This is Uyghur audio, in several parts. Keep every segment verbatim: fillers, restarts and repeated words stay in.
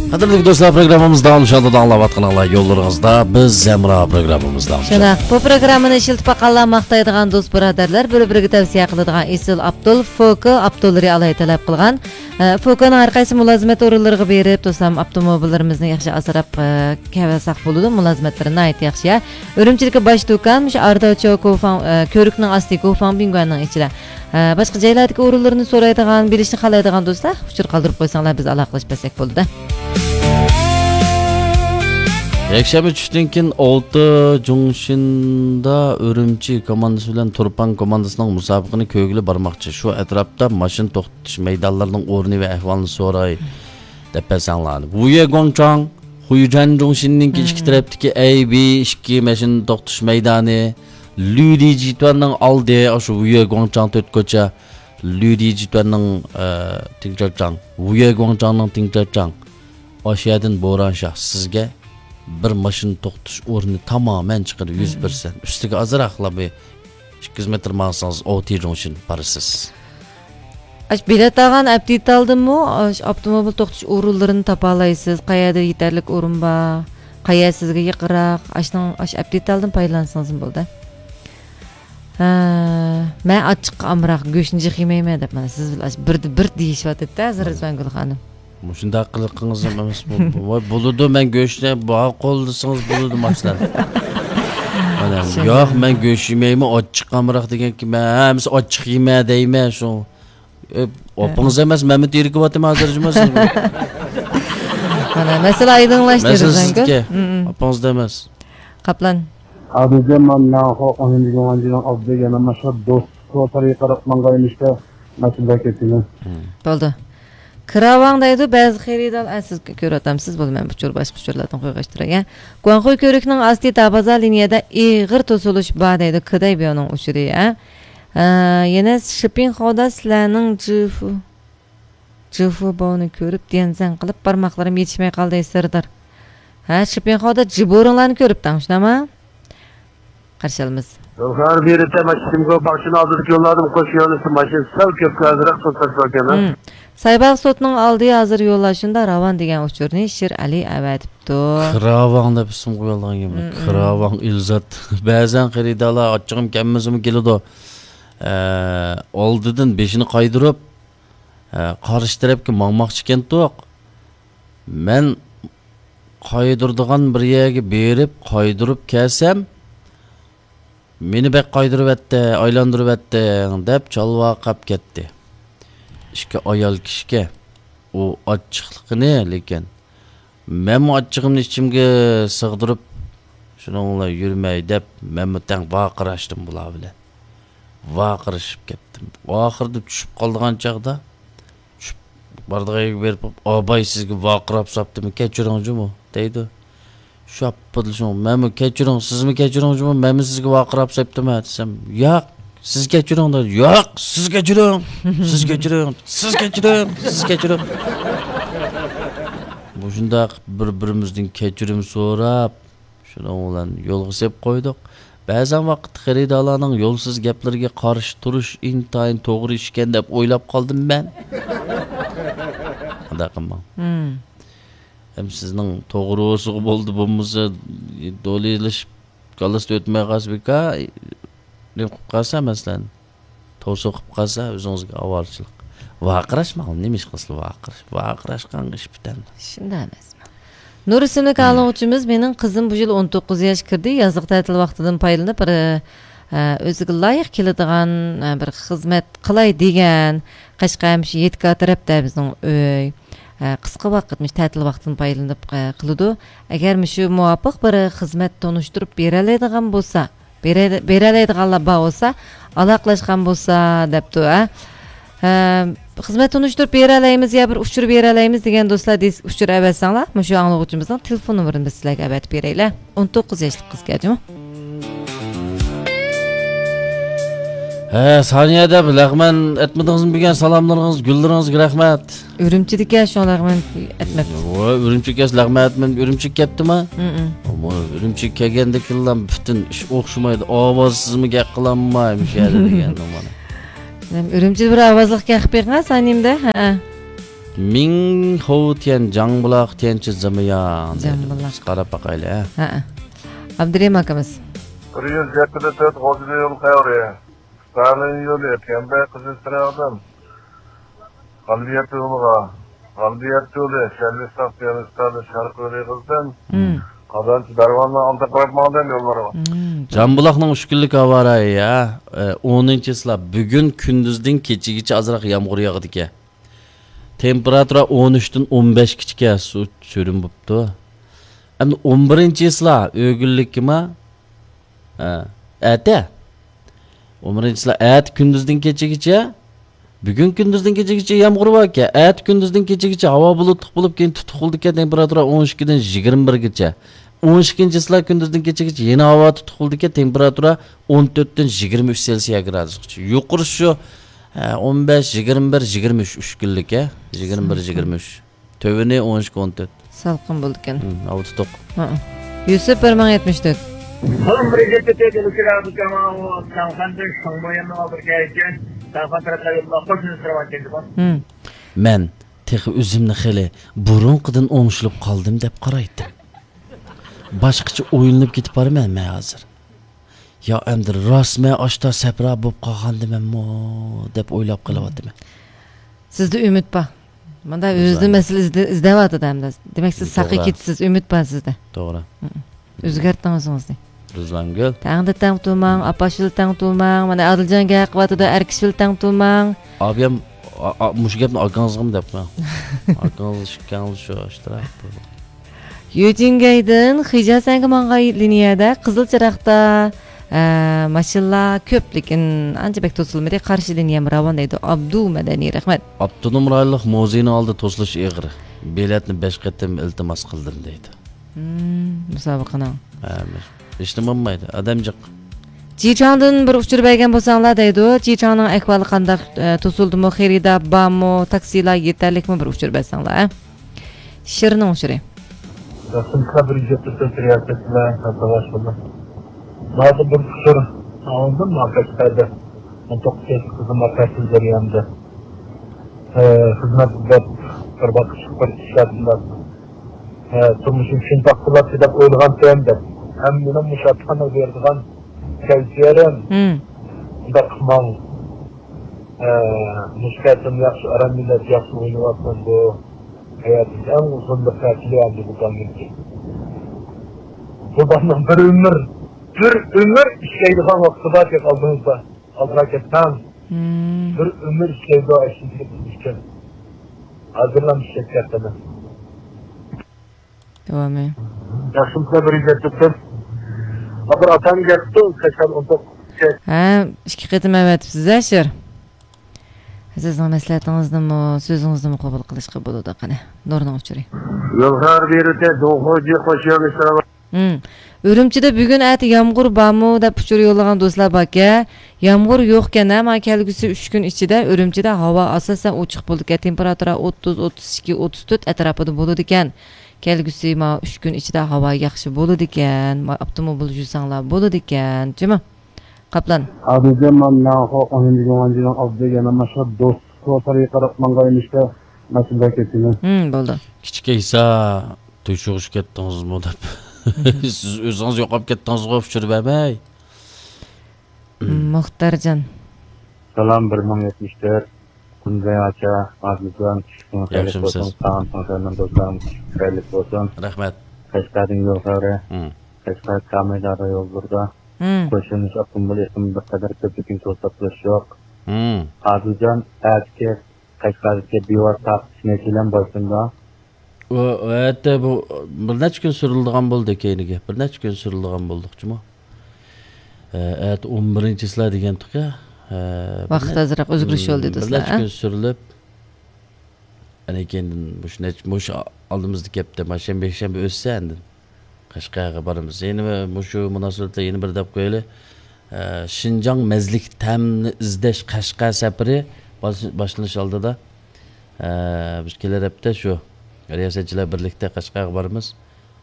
قەدىرلىك دوستلار، پروگراممىمىز داۋاملىشىۋاتىدۇ. ئاڭلاۋاتقىنىڭلار يوللىرىڭىزدا بىز ھەمراھ پروگراممىمىزدا. شۇنداق، بۇ پروگراممىنى ئىشلىتىپ باققانلار، ماختايدىغان دوست بۇرادەرلەر، بىر-بىرىگە تەۋسىيە قىلىدىغان ئېسىل ئاپتول فوكو ئاپتوللىرى ئالاھىدە تەلەپ قىلغان. ئە، فوكونىڭ ھەر قايسى مۇلازىمەت ئورۇنلىرىغا بېرىپ، توسالما ئاپتوموبىللىرىمىزنى ياخشى ئاسراپ، ئە، كەۋەلساق بولىدۇ. مۇلازىمەتلىرى ناھايىتى ياخشى، يا. ئۈرۈمچىدىكى باش دۇكان، مۇشۇ ئارداۋچو كوفاڭ، ئە، كۆۋرۈكنىڭ ئاستى كوفاڭ بىڭگۈەننىڭ ئىچىدە. ئە، باشقا جايلاردىكى ئورۇنلىرىنى سورايدىغان، بىلىشنى خالايدىغان دوستلار، ئۇچۇر قالدۇرۇپ قويساڭلار، بىز ئالاقىلىشىپ بەرسەك بولىدۇ. يەكشەنبە چۈشتىن كېيىن ئالتە جۇڭشىندا ئۈرۈمچى كوماندىسى بىلەن تۇرپان كوماندىسىنىڭ مۇسابىقىنى كۆرگىلى بارماقچى. شۇ ئەتراپتا ماشىنا توختىتىش مەيدانلىرىنىڭ ئورنى ۋە ئەھۋالىنى سوراي دەپ بەرسەڭلار. ۋۇيە گۇاڭچاڭ، خۇيجەن جۇڭشىننىڭكى ئىككى تەرەپتىكى ئەي بى ئىككى ماشىنا توختىتىش مەيدانى، لۈدى جىتۈەننىڭ ئالدى، ئاشۇ ۋۇيە گۇاڭچاڭ تۆت كوچا، لۈدى جىتۈەننىڭ، ئە، تىڭچاچاڭ، ۋۇيە گۇاڭچاڭنىڭ تىڭچاچاڭ. ئاشۇ يەردىن بورانشاھ سىزگە بىر ماشىنا توختىتىش ئورنى تامامەن چىقىدۇ، يۈز پىرسەنت. ئۈستىگە ئازراقلا بىر ئىككى يۈز مېتىر ماڭسىڭىز، ئوتى جۇڭشىن بارىسىز. ئاش بېلەت ئالغان ئەپ دېتالدىنمۇ ئاش ئاپتوموبىل توختىتىش ئورۇنلىرىنى تاپالايسىز، قەيەردە يېتەرلىك ئورۇن بار، قەيەر سىزگە يېقىنراق، ئاشنىڭ ئاش ئەپ دېتالدىن پايدىلانسىڭىزمۇ بولىدۇ. ھە، مەن ئاچچىققا ئامراق، گۆشنى جىق يېمەيمەن دەپ، مانا سىز بىلەن ئاش بىردە بىر دېيىشىۋاتىدۇ-دە ھازىر رىزۋانگۈل خانىم. مۇشۇنداق قىلىقىڭىز ھەم ئەمەس بۇ. ۋاي، بولىدۇ، مەن گۆشنى ماقۇل دېسىڭىز بولىدۇ، ماشۇلار. مانا، ياق، مەن گۆش يېمەيمەن، ئاچچىققا ئامراق دېگەنكى، مەن ھەممىسى ئاچچىق يېمە دەيمەن، شۇ. ئۆپ، ئاپىڭىز ئەمەس، مەنمۇ تېرىكىۋاتىمەن ھازىر جۇمۇ سىزگە. مانا، مەسىلە ئايدىڭلاشتى، مەسىلە رىزۋانگۈل. سىزدىكى. ئاپىڭىزدا ئەمەس. قاپلان. ئادىلجان، مانا خو ئون يىل دېگەن ئالدى يەنە ماشۇ دوستلۇق تەرىقىگە قاراپ ماڭغايمىشتا، ماشىنىدا كېتىمەن. بولدى. كىراۋاڭ دەيدۇ، بەزى خېرىدار، ئە، سىز كۆرۈۋاتامسىز، بولدى، مەن ئۇچۇر، باشقا ئۇچۇرلاردىن قويغاچتۇراي، يا. گۇاڭخۇي كۆۋرۈكنىڭ ئاستى تابازا لىنىيەدە ئېغىر توسۇلۇش بار دەيدۇ، كىدەي بيونىڭ ئۇچۇرى، يا. ئە، يەنە شىپىڭخودا سىلەرنىڭ جىفۇ، جىفۇ بوۋنى كۆرۈپ، ديەنزەن قىلىپ، بارماقلىرىم يېتىشمەي قالدى، سىردار. ھە، شىپىڭخودا جىبورىڭلارنى كۆرۈپتىڭ، شۇنداقمۇ؟ قارشى ئالىمىز. زوفار بېرىتە ماشىنىمغا باخشىنى ئالدىدىكى يوللاردىم، قوش يۆنىلىشتە ماشىنا سەل كۆپكە ئازراق توساتتىكەن. سايباغ سوتنىڭ ئالدى ھازىر يوللار شۇنداق راۋان دېگەن ئۇچۇرنى شىر ئەلى ئەۋەتىپتۇ. كىراۋاڭ دەپ ئىسىم قويۇلغان گېمى. كىراۋاڭ ئىلزات. بەزەن خېرىدارلار ئاچچىقىم كەلمىسىمۇ كېلىدۇ. ئە، ئالدىدىن بېشىنى قايدۇرۇپ، ئە، قارشى تەرەپكە ماڭماقچى ئىكەنتۇق. مەن قايدۇرىدىغان بىر يەرگە بېرىپ قايدۇرۇپ كەلسەم، مېنى بەك قايدۇرۇۋەتتى، ئايلاندۇرۇۋەتتىڭ دەپ چالۋاقاپ كەتتى. ئىككى ئايال كىشىكەن. ئۇ ئاچچىقلىقىنى، لېكىن مەنمۇ ئاچچىقىمنى ئىچىمگە سىغدۇرۇپ، شۇنىڭ بىلەن يۈرمەي دەپ، مەنمۇ تەڭ ۋارقىراشتىم بۇلار بىلەن. ۋارقىرىشىپ كەتتىم. ئاخىرىدا چۈشۈپ قالىدىغان چاغدا، چۈشۈپ بارىدىغان يەرگە بېرىپ، ئاباي سىزگە ۋارقىراپ ساپتىمۇ، كەچۈرۈڭ جۇمۇ، دەيدۇ. شاپپىدىلا شۇڭا، مەنمۇ كەچۈرۈڭ، سىزمۇ كەچۈرۈڭ جۇمۇ، مەنمۇ سىزگە ۋارقىراپ ساپتىمەن دېسەم، ياق، سىز كەچۈرۈڭ دەيدۇ. ياق، سىز كەچۈرۈڭ، سىز كەچۈرۈڭ، سىز كەچۈرۈڭ، سىز كەچۈرۈڭ. مۇشۇنداق بىر-بىرىمىزدىن كەچۈرۈم سوراپ، شۇنىڭ بىلەن يولغا سېلىپ قويدۇق. بەزەن ۋاقىت خېرىدارلارنىڭ يولسىز گەپلىرىگە قارشى تۇرۇش ئىنتايىن توغرا ئىشكەن دەپ ئويلاپ قالدىم مەن. ئۇنداق قىلماڭ. ھەم سىزنىڭ توغرا بولسىغۇ بولدى، بولمىسا دولىلىشىپ كاللىسىدا ئۆتمەي قالسا بىكار، نېمە قىلىپ قالسا مەسىلەن. توسۇق قىلىپ قالسا، ئۆزىڭىزگە ئاۋارىچىلىق. ۋارقىراش ماڭا، نېمە ئىش قىلسىلا ۋارقىراش. ۋارقىراشقان ئىش پۈتەن. شۇنداق ئەمەسمۇ؟ نۇر ئىسىملىك ئاڭلىغۇچىمىز، مېنىڭ قىزىم بۇ يىل ئون توققۇز ياش كىردى، يازلىق تەتىل ۋاقتىدىن پايدىلىنىپ، بىر، ئە، ئۆزىگە لايىق كېلىدىغان، ئە، بىر خىزمەت قىلاي دېگەن. قەشقەر مۇشۇ يېتىكار تەرەپتە بىزنىڭ ئۆي. ئە، قىسقا ۋاقىت مۇشۇ تەتىل ۋاقتىدىن پايدىلىنىپ، ئە، قىلىدۇ. ئەگەر مۇشۇ مۇۋاپىق بىر خىزمەت تونۇشتۇرۇپ بېرەلەيدىغان بولسا، بېرە-، بېرەلەيدىغانلار بار بولسا، ئالاقىلەشكەن بولسا دەپتۇ، ھە. ھە، خىزمەت تونۇشتۇرۇپ بېرەلەيمىز يا بىر ئۇچۇر بېرەلەيمىز دېگەن دوستلار دېس-، ئۇچۇر ئەۋەتسەڭلار، مۇشۇ ئاڭلىغۇچىمىزنىڭ تېلېفون نومۇرىنى بىز سىلەرگە ئەۋەتىپ بېرەيلى. ئون توققۇز ياشلىق قىزكەن جۇمۇ. ھە، سانىيە دەپ لەغمەن ئەتمىدىڭىزمۇ بۈگۈن؟ سالاملىرىڭىز، گۈللىرىڭىزگە رەھمەت. ئۈرۈمچىدىكى شۇڭا لەغمەن ئەتمەپتۇ. ۋاي، ئۈرۈمچىگە كەلسە لەغمەن ئەتمەن، ئۈرۈمچىگە كەپتىما؟ ھىم. ئەمما ئۈرۈمچىگە كەلگەندىكىنلا پۈتۈن ئىش ئوخشىمايدۇ. ئاۋازسىزمۇ گەپ قىلالماي مۇشۇ يەردە دېگەن مانا. ئۈرۈمچىدە بىر ئاۋازلىق گەپ قىلىپ بېقىڭا، سانىيمدا. ھە. مىڭ خو تيەن جاڭبۇلاق تيەنچى زىمىياڭ دەيدۇ. جاڭبۇلاق. قاراپ باقايلى، ھە. ھە. ئابدۇرېھىم ئاكىمىز. بىر يۈز يەتتە تۆت غوجىلى يول خەۋىرى. ستالىن يولى، تيەنبەي قىزىل چىراغدىن غەلبىيەت يولىغا، غەلبىيەت يولى، شەرۋىستاق، پىيانىستانى، شەرقىي رېغىزدىن مم. قازانچى دەرۋازىنىڭ ئالدىغا قاراپ ماڭغان يوللىرىغا. مم. جامبۇلاقنىڭ ئۈچ كۈنلۈك ھاۋا رايى، ھە، ئونىنچى چىسلا، بۈگۈن كۈندۈزدىن كېچىگىچە ئازراق يامغۇر ياغىدىكەن. تېمپېراتۇرا ئون ئۈچتىن ئون بەشكىچىكەن، سۇ سۈرۈم بوپتۇ. ئەمدى ئون بىرىنچى چىسلا، ئۆگۈنلۈككىما؟ ھە، ئەتە. ئون بىرىنچى چىسلا ئەتە كۈندۈزدىن كېچىگىچە، بۈگۈن كۈندۈزدىن كېچىگىچە يامغۇر باركەن. ئەتە كۈندۈزدىن كېچىگىچە ھاۋا بۇلۇتلۇق بولۇپ، كېيىن تۇتۇق بولىدىكەن، تېمپېراتۇرا ئون ئىككىدىن يىگىرمە بىرگىچە. ئون ئىككىنچى چىسلا كۈندۈزدىن كېچىگىچە يەنە ھاۋا تۇتۇق بولىدىكەن، تېمپېراتۇرا ئون تۆتتىن يىگىرمە ئۈچ سېلسىيە گرادۇسقىچە. يۇقىرىسى شۇ، ھە، ئون بەش، يىگىرمە بىر، يىگىرمە ئۈچ، ئۈچ كۈنلۈك، ھە. يىگىرمە بىر، يىگىرمە ئۈچ. تۆۋىنى ئون ئىككى، ئون تۆت. سالقىن بولىدىكەن. ھىم، ھاۋا تۇتۇق. ھە. يۈسۈپ بىر مىڭ يەتمىش تۆت. ھىم. مەن تېخى ئۆزۈمنى خېلى بۇرۇنقىدىن ئوڭشىلىپ قالدىم دەپ قارايتتىم. باشقىچە ئويلىنىپ كېتىپ بارىمەن مەن ھازىر. يا ئەمدى راستمۇ ئاشتا سەپرا بولۇپ قالغاندىمەنمۇ دەپ ئويلاپ قېلىۋاتىمەن. سىزدە ئۈمىد بار. مانا ئۆزىدىن مەسىلە ئىزدە-، ئىزدەۋاتىدۇ ئەمدى. دېمەك، سىز ساقىي كېتىسىز، ئۈمىد بار سىزدە. توغرا. مم. ئۆزگەرتىڭ ئۆزىڭىزنى. رۇزلانگۈل. تەڭدە تەڭ تۇرماڭ، ئاپاش بىلەن تەڭ تۇرماڭ. مانا ئادىلجان گەپ قىلىۋاتىدۇ، ئەركىشى بىلەن تەڭ تۇرماڭ. ئابىيام، ئا-، ئا-، مۇشۇ گەپنى ئاكاڭىزغىمۇ دەپ قويۇڭ. ئاكىڭىز ئىككىڭىز شۇ ئاشتراق. يۈجىنگەيدىن خىجازەنگە ماڭغان لىنىيەدە قىزىل چىراغدا، ئە، ماشىنىلار كۆپ، لېكىن ئانچە بەك توسۇلمىدى. قارشى لىنىيەم راۋان دەيدۇ. ئابدۇ مەدەنىي، رەھمەت. ئاپتونوم رايونلۇق مۇزېينىڭ ئالدىدا توسۇلۇش ئېغىر. بېلەتنى بەش قېتىم ئىلتىماس قىلدىم دەيدۇ. مم، مۇسابىقىنىڭ. ھە، ھېچنېمە بولمايدۇ، ئادەم جىق. جىچاڭدىن بىر ئۇچۇر بەرگەن بولساڭلار دەيدۇ. جىچاڭنىڭ ئەھۋالى قانداق، ئە، توسۇلدىمۇ، خېرىدار بارمۇ، تاكسىلار يېتەرلىكمۇ، بىر ئۇچۇر بەرسەڭلار، ھە؟ شىرنىڭ ئۇچۇرى. ياخشىمۇسىلەر بىر يۈز يەتمىش تۆت رىياسەتچىلەر ساۋاش بولدى. ماڭا بىر ئۇچۇر ئاڭلىدىم، ماڭا قەشقەردە. ئون توققۇز ياشلىق قىزىم ماڭا قەشقەر جەريانىدا، ئە، خىزمەت ئىزدەپ، بىر باققۇچلۇق بىر ئىشلەپ، ئە، تۇرمۇشۇم شۇنداق بولاتتى دەپ ئويلىغانتىم دەپ. ھەممىنىڭ مۇشۇ ئاتقانلىق بېرىدىغان كەلگۈسى يېرىم. مم. شۇنداق قىلماڭ. ئە، مۇشۇ قېتىم ياخشى ئارام مىللەت ياخشى ئوينىۋاتىدۇ. ھاياتىمىزدا ئەڭ ئۇزۇن بىر تەسىرى ئەمدى بۇ بالنىڭكى. بۇ بالنىڭ بىر ئۆمۈر، بىر ئۆمۈر ئىشلەيدىغان ۋاقتى بار تېخى ئالدىمىزدا. ئالدىغا كەتسەڭ، مم. بىر ئۆمۈر ئىشلەيدۇ ئاشۇنى ئۈچۈن. ھازىرلا ئىشلەپ كەتتىمەن. داۋامى. ياخشىمۇسىلەر بىر يۈز يەتتە تۆت؟ بىر ئاتام گەپتۇ، سەكسەن ئون توققۇز. ھە، ئىككى قېتىم ئەۋەتىپسىز-ھە، شىر. سىزنىڭ مەسلىھەتىڭىزنىمۇ، سۆزىڭىزنىمۇ قوبۇل قىلىشقا بولىدۇ، قېنى. نۇرنىڭ ئۇچۇرى. يولغار بېرىتى، دوغۇجى قوشۇۋېلىشلار. ھىم. ئۈرۈمچىدە بۈگۈن ئەتە يامغۇر بارمۇ دەپ ئۇچۇر يوللىغان دوستلار باركەن. يامغۇر يوقكەن، ھە، مانا كەلگۈسى ئۈچ كۈن ئىچىدە ئۈرۈمچىدە ھاۋا ئاساسەن ئوچۇق بولىدىكەن. تېمپېراتۇرا ئوتتۇز، ئوتتۇز ئىككى، ئوتتۇز تۆت ئەتراپىدا بولىدىكەن. كەلگۈسى مانا ئۈچ كۈن ئىچىدە ھاۋا ياخشى بولىدىكەن. ما-، ئاپتوموبىل يۈرسەڭلار بولىدىكەن. جۇمۇ. قاپلان. ھازىرچە مەن ناخو ئون يىل يوغان جىنىڭ ئالدىدا يەنە ماشا دوستلۇق سارىيى قاراپ ماڭغان ئىشتا ماشىنىدا كېتىمەن. ھىم، بولدى. كىچىك ئەيسا، تۆشۈغۈچ كەتتىڭىزمۇ دەپ. سىز ئۆزىڭىز يوقاپ كەتتىڭىزغۇ، ئۇچۇر بەرمەي. مۇختارجان. سالام، بىر مىڭ يەتمىش تۆت. كۈنزەي ئاچا، ئادىلجان، چۈشكۈن خەيرلىك بولسۇن. ياخشىمۇسىز؟ ساڭا، ساڭا، سەن دوستلارنىڭ چۈشكۈن خەيرلىك بولسۇن. رەھمەت. قەشقەردىن يول خەۋىرى. ھىم. قەشقەر كامايدارا يوللىرىدا ھىم. قوشۇلمىش ئاپتوموبىل ئېقىمى بىر قەدەر كۆپلۈكىنى توساتلىشى يوق. ھىم. ئادىلجان، ئەتىكى قەشقەردىكى بىۋاسىتە تارقىتىش مەيدانى باشلىنىدۇ. ئۇ، ئۇ يەردە بۇ بىر نەچچە كۈن سۈرۈلىدىغان بولدى كەينىگە. بىر نەچچە كۈن سۈرۈلىدىغان بولدۇقچىمۇ؟ ئە، ئەتە ئون بىرىنچى چىسلا دېگەنتۇق يا. ئە، بىر ۋاقىت نە-، ئازراق ئۆزگىرىش بولدى، بىر دوستلار، نەچچە ھە؟ كۈن سۈرۈلۈپ، ئەنە كېيىندىن مۇشۇ نەچ-، مۇشۇ ئالدىمىزدىكى ھەپتە، ماشەنبە، يەكشەنبە ئۆتسە ئاندىن قەشقەرگە بارىمىز. يەنە مۇشۇ مۇناسىۋەت بىلەن يەنە بىر دەپ قويايلى. ئە، شىنجاڭ مەززىلىك تەمنى ئىزدەش قەشقەر سەپىرى باش-، باشلىنىش ئالدىدا. ئە، بىز كېلەر ھەپتە شۇ رىياسەتچىلەر بىرلىكتە قەشقەرگە بارىمىز.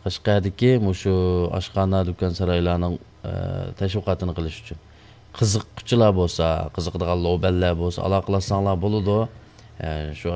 قەشقەردىكى مۇشۇ ئاشخانا، دۇكان، سارايلارنىڭ، ئە، تەشۋىقاتىنى قىلىش ئۈچۈن. قىزىققۇچىلار بولسا، قىزىقىدىغان لوبەنلەر بولسا، ئالاقىلاشساڭلار بولىدۇ. ئە، شۇ